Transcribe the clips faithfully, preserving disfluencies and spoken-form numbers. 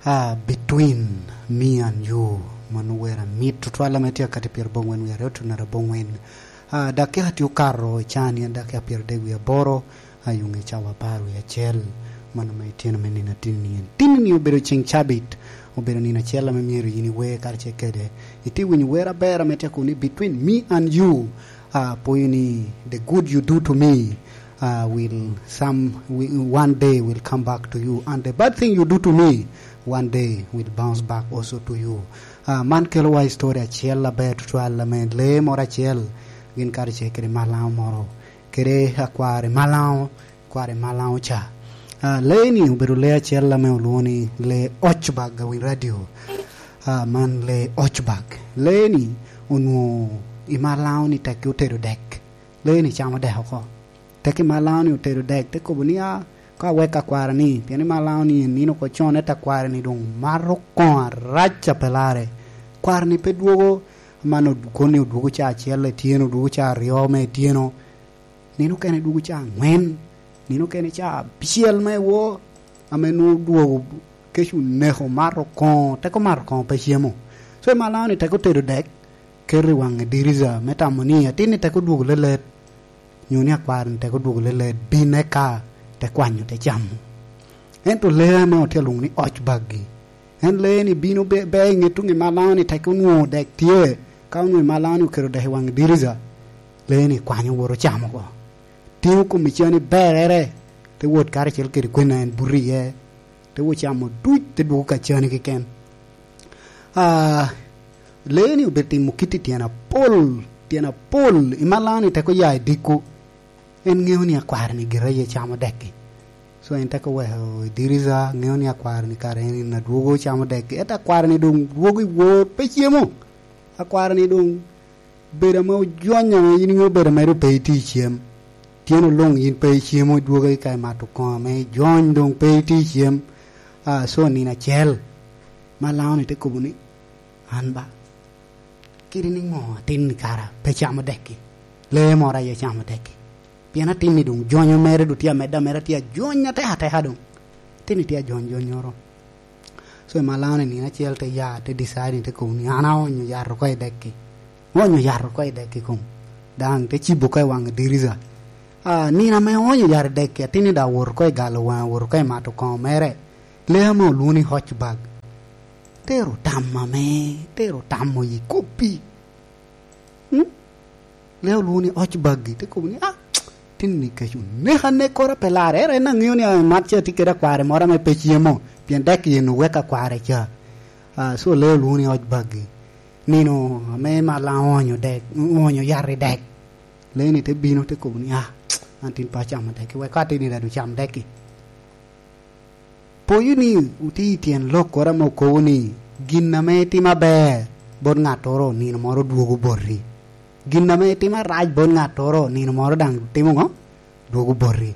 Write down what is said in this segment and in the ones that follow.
Ah, between me and you, mano wer amit tutwal ame tye akati pyerabongwen wie aryo tuno arabongwen. Ah, dakika tye okato i caa ni en dakika pyeradek wie aboro, ayuŋe cawa apar wie acel. Mano me itino me nino atin ni en. Tin ni obedo ceng cabit, obedo nino acel ame myero yin iwer karacel kede. Iti winyo wer aber ame tye kuni between me and you. Ah, poyo ni the good you do to me, uh, will some, wi- one day will come back to you, and the bad thing you do to me, one day will bounce back also to you. Uh, man kelo wa history acel aber tutwal ame lee moro acel gin karacel kede malaŋo moro, kede akwari malaŋo, kwari malaŋo ca. Uh, lee ni obedo lee acel ame olwoŋo ni lee Ochbag a wi radio. Uh, man lee Ochbag. Lee ni onwoŋo i malaŋo ni tekki otedo dek. Lee ni camo dek oko. Tekki malaŋo ni otedo dek, te kobo ni, "Ah, ka wek akwara ni, pien i malaŋo ni en nino oko con, ento akwara ni doŋ mato koŋo arac a pe larre." Kwara ni pe dwogo, man od- koni odwogo ca acel etyeno, odwogo ca aryo me etyeno. Nino okene dwogo ca aŋwen, nino okene ca abicel me wo, ame nwoŋo dwogo kec oneko mato koŋo, teko mato koŋo pe cemo. So i malaŋo ni teko tedo dek, keto i waŋ i dirica me tamo ni atin ni teko dwogo lelet, nyo ni akwaro ni teko dwogo lelet, bin eka te kwanyo te camo. Ento lee ame otye alwoŋo ni Ochbag-gi, en lee ni bino be, be i ŋet tuŋ i malaŋo ni teko onwoŋo dek tye, ka onwoŋo i malaŋo ni oketo dek i waŋ i dirica, lee ni kwanyo woto camo oko. Tingo kom i cani berere, te wot karacel kede kwena en buto iye, te wot camo duc, te dwogo ka cani keken. Ah, lee ni obedo timo kit i tyen apol, tyen apol, i malaŋo ni teko ya i diko. En ŋeo ni akwaro ni gira aye camo dek-ki. So en teko weko i dirica, ŋeo ni akwaro ni kara en, en adwogo camo dek-ki. Ento akwaro ni doŋ dwogo i wor, pe cemo. Akwaro ni doŋ bedo ame ojony ame yin iŋeo bedo ame doŋ pe itye i cem. Tyeno luŋ yin pe icemo, idwogo ika imato koŋo ame ijony, doŋ pe itye i cem. Ah, so nino acel, malaŋo ni te kobo ni, "An ba, kadi ni ŋo atin ni kara pe camo dek-ki? Lee moro aye camo dek-ki. Pien atin ni doŋ jonyo mere doŋ tye amedde ameda, tye ajony atek ateka doŋ. Atin ni tye ajony jonyoro." So i malaŋo ni nino acel te ya, te decide ni te kobo ni, "An aonyo yat oko i dek-ki." Oonyo yat oko i dek-ki kom. Daŋ te cibo oko i waŋ dirica. Ah, nino ame oonyo yat i dek-ki, atin ni daŋ owoto oko i galo waŋe, owoto oko i mato koŋo mere. Lee ame olwoŋo ni Ochbag, tero tam ame, tero tam oye koppi. Hmm? Lee olwoŋo ni Ochbag-gi, te kobo ni, "Ah, tin ni kec oneka anekora pe larre." Ero en aŋeo ni, ah, mat ca tye kede akware moro ame pe cemo, pien dek yen oweko akware ca. Ah, so lee olwoŋo ni Ochbag-gi. Nino ame malaŋo oonyo dek, oonyo yat i dek, lee ni te bino, te kobo ni, "Ah, an tin pe acamo dek-ki, wek ka atin ni daŋ doŋ cam dek-ki." Poyo ni otye i tyen lokkoro ame okobo ni, "Gin ame itimo aber bot ŋattoro, nino moro dwogo boti. Gin ame itimo arac bot ŋattoro, nino moro daŋ timo ŋo? Dwogo boti."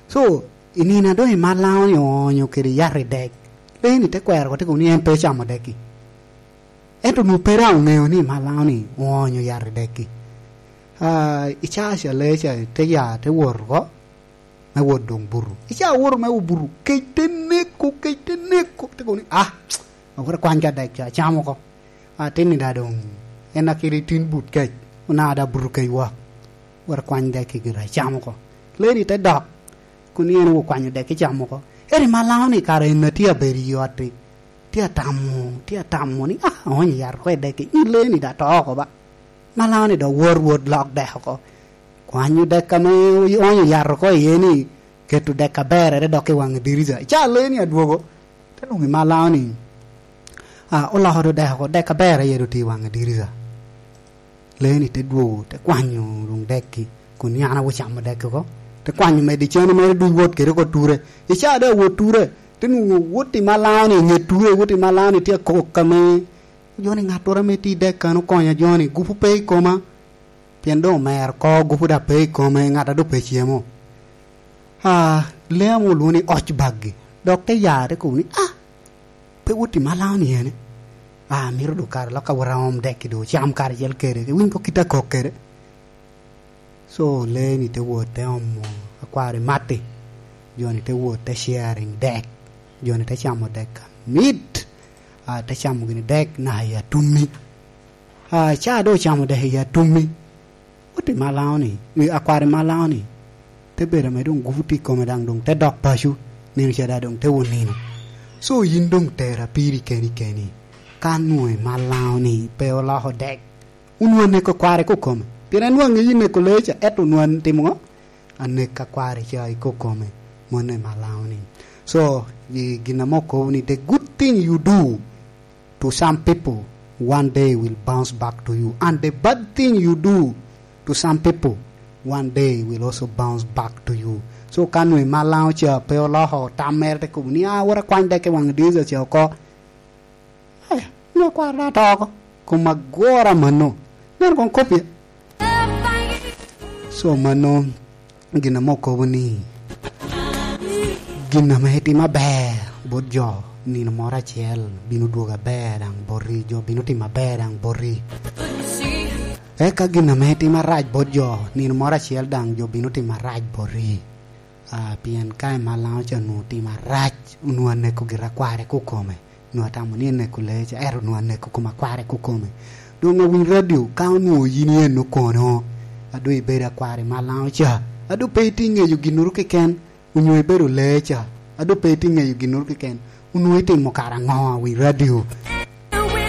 So, i nino a doŋ i malaŋo ni oonyo kede yat i dek, lee ni te kwero oko, te kobo ni en pe ocamo dek-ki. Ento onwoŋo pe daŋ oŋeo ni malaŋo ni oonyo yat i dek-ki. Ah, i caa ca lee ca te ya, te wot oko, me wot doŋ buto. I caa owoto me wot buto, kec te neko, kec te neko, te kobo ni, "Ah, awot akwany ka dek ca, acam oko. Atin ni daŋ doŋ en a kede tin but kec, onaka daŋ buto kec wa. Wot akwany dek-ki gira, acam oko." Lee ni te dok, kun ni en okwanyo dek-ki cam oko. Ero i malaŋo ni kara en a tye abedo i ot-ti, tye atamo, tye atamo ni, "Ah, aonyo yat oko i dek-ki, nyi lee ni daŋ to oko ba." Malaŋo ni dok wot, wot lok dek oko. Kwanyo dek ame oonyo yat oko iye ni, keto dek aberere dok i waŋ dirica. I caa lee ni adwogo, te nwoŋo i malaŋo ni, ah, oloko do dek oko, dek aberere aye doŋ tye i waŋ dirica. Lee ni te dwogo, te kwanyo doŋ dek-ki, kun ni an awot camo dek-ki oko. Te kwanyo medo i cene mere duc, wot kede oko ture. I caa doŋ awot ture, te nwoŋo wot i malaŋo ni, i ŋet ture, wot i malaŋo ni tye akok ame jo ni, "Ŋattoro ame tye i dek kan okonya jo ni, gupu pe i koma." Pien doŋ omer oko, gupu daŋ pe i kome, ŋat a doŋ pe cemo. Ah, lee ame olwoŋo ni Ochbag-gi, dok te ya, te kobo ni, "Ah, pe wot i malaŋo ni ene? Ah, mito doŋ kare lok awot aom dek-ki doŋ ocam karacel kede, iwiny ko kit akok kede." So, lee ni te wot te omo akwari matti, jo ni te wot te sharing dek. Jo-ni te camo dek amit, a, te camo gini dek naka i atummi. A, ca doŋ ocamo dek i atummi, ote Malaŋo-ni, i akwari Malaŋo-ni, te bedo ame doŋ gupu tye i kome, daŋ doŋ te dok paco, nino ca daŋ doŋ te wot nino. So yin doŋ tera piri keni keni, ka nwoŋo i Malaŋo-ni pe oloko dek, onwoŋo aneko kware kokome. Pien en nwoŋo aŋeyo i neko lee ca, ento onwoŋo atimo ŋo? Aneko akware ca i kokome, mano i Malaŋo-ni. So, i gin ame okobo ni, "The good thing you do to some people, one day will bounce back to you. And the bad thing you do to some people, one day will also bounce back to you." So, ka nwoŋo i Malaŋo ca pe oloko tam mere, te kobo ni, "Ah, wot akwany dek i waŋ dirica ca oko." Eh, nwoŋo kwaro daŋ oto oko. Kom agwora mano. Nen koŋ kopye. So mano gin ame okobo ni, gin ame itimo aber bot jo, nino moro acel bino dwogo aber daŋ boti, jo bino timo aber daŋ boti. Eka gin ame itimo arac bot jo, nino moro acel daŋ jo bino timo arac boti. Ah, pien ka i Malaŋo ca onwoŋo otimo arac, onwoŋo aneko gira kware kokome. Onwoŋo atamo ni aneko lee ca, ento onwoŋo aneko koma kware kokome. Doŋ awiny radio, ka onwoŋo yin i eno kono, a doŋ ibedo akwari Malaŋo ca, a doŋ pe itye ŋeyo ginnoro keken, onyo ibedo lee ca, a doŋ pe itye ŋeyo ginnoro keken, onwoŋo itimo kara ŋo awiny radio?